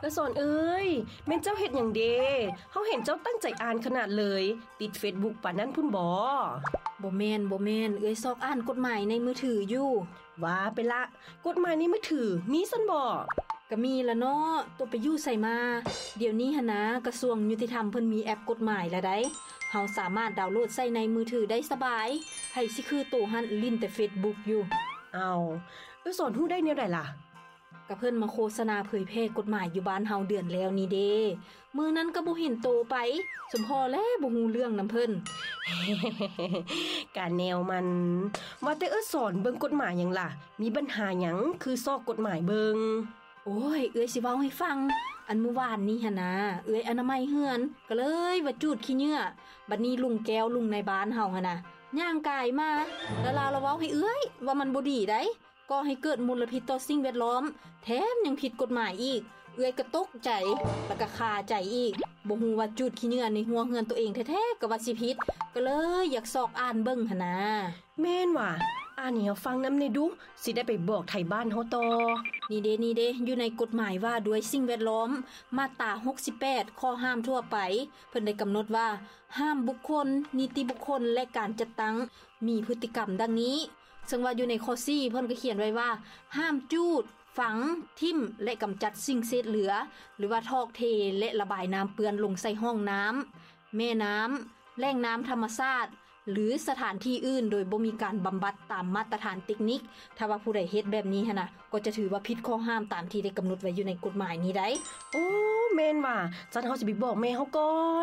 ອະສອນເອີຍ, ແມ່ນເຈົ້າເຮັດຫຍັງເດ? ເຮົາເຫັນເຈົ້າຕັ້ງໃຈອ່ານຂະໜາດເລີຍ, ຕິດເຟສບຸກປານນັ້ນພຸ້ນບໍ? ບໍ່ແມ່ນ, ບໍ່ແມ່ນ, ເອື້ອຍຊອກອ່ານກົດໝາຍໃນມືຖືຢູ່. ວ່າໄປລະ, ກົດໝາຍໃນມືຖືມີຊັ້ນບໍ? ກະມີລະເນາະ, ໂຕໄປຢູ່ໃສມາ? ດຽວນີ້ຫັ້ນນາ, ກະຊວງຍຸຕິທຳເພິ່ນມີແອັບກົດໝາຍລະໃດ໋. ເຮົາສາມາດດາວໂຫຼດໃສ່ໃນມືຖືໄດ້ສະບາຍ. ໃຜຊິຄືໂຕຫັ້ນ, ຫຼິ້ນແຕ່ເຟສບຸກຢູ່. ອ້າວ, ເອື້ອຍສອນຮູ້ໄດ້ແນວໃດລະ? ກະເພິ່ນມາໂຄສະນາເຜີຍແຜ່ກົດໝາຍຢູ່ບ້ານເຮົາເດືອນແລ້ວນີ້ເດ. ມື້ນັ້ນກະບໍ່ເຫັນໂຕໄປ, ສົມພໍແລະບໍ່ຮູ້ເລື່ອງນຳເພິ່ນ. ກະແນວມັນ. ວ່າແຕ່ເອື້ອຍສອນເບິ່ງກົດໝາຍຫຍັງລະ? ມີບັນຫາຫຍັງຄືຊອກກົດໝາຍເບິ່ງ? ໂອ້ຍ, ເອື້ອຍຊິເວົ້າໃຫ້ຟັງ. ອັນມື້ວານນີ້ຫັ້ນນາ, ເອື້ອຍອະນາໄມເຮືອນ, ກະເລີຍວ່າຈູດຂີ້ເຫຍື້ອ. ບັດນີ້ລຸງແກ້ວ, ລຸງນາຍບ້ານເຮົາຫັ້ນນາ, ຍ່າງກາຍມາ, ລະລາວລະເວົ້າໃຫ້ເອື້ອຍວ່າມັນບໍ່ດີໃດ. ກໍ່ໃຫ້ເກີດມົນລະພິດຕໍ່ສິ່ງແວດລ້ອມ, ແຖມຍັງຜິດກົດໝາຍອີກ. ເອື້ອຍກະຕົກໃຈ ລະກະຄາໃຈອີກ. ບໍ່ຮູ້ວ່າຈູດຂີ້ເຫຍື້ອໃນຮົ້ວເຮືອນໂຕເອງແທ້ໆ ກະວ່າຊິຜິດ, ກະເລີຍຢາກຊອກອ່ານເບິ່ງຫັ້ນນາ. ແມ່ນຫວາ? ອ່ານໃຫ້ເຮົາຟັງນຳແດ່ດຸ, ຊິໄດ້ໄປບອກໄທບ້ານເຮົາຕໍ່. ນີ້ເດ, ນີ້ເດ, ຢູ່ໃນກົດໝາຍວ່າດ້ວຍສິ່ງແວດລ້ອມ, ມາດຕາຫົກສິບແປດ, ຂໍ້ຫ້າມທົ່ວໄປ, ເພິ່ນໄດ້ກຳນົດວ່າ ຫ້າມບຸກຄົນ, ນິຕິບຸກຄົນ ແລະ ການຈັດຕັ້ງ ມີພຶດຕິກຳດັ່ງນີ້. ເຊິ່ງວ່າຢູ່ໃນຂໍ້ສີ່ ເພິ່ນກະຂຽນໄວ້ວ່າ ຫ້າມຈູດ, ຝັງ, ຖິ້ມ ແລະ ກຳຈັດສິ່ງເສດເຫຼືອ ຫຼືວ່າຖອກເທ ແລະ ລະບາຍນ້ຳເປື້ອນລົງໃສ່ຫ້ອງນ້ຳ, ແມ່ນ້ຳ, ແຫຼ່ງນ້ຳທຳມະຊາດ ຫຼື ສະຖານທີ່ອື່ນ ໂດຍບໍ່ມີການບຳບັດຕາມມາດຕະຖານເຕັກນິກ. ຖ້າວ່າຜູ້ໃດເຮັດແບບນີ້ຫັ້ນນະ, ກໍຈະຖືວ່າຜິດຂໍ້ຫ້າມຕາມທີ່ໄດ້ກຳນົດໄວ້ຢູ່ໃນກົດໝາຍນີ້ໄດ໋. ໂອ້, ແມ່ນຫວາ? ຊັ້ນເຮົາຊິໄປບອກແມ່ເຮົາກ່ອນ.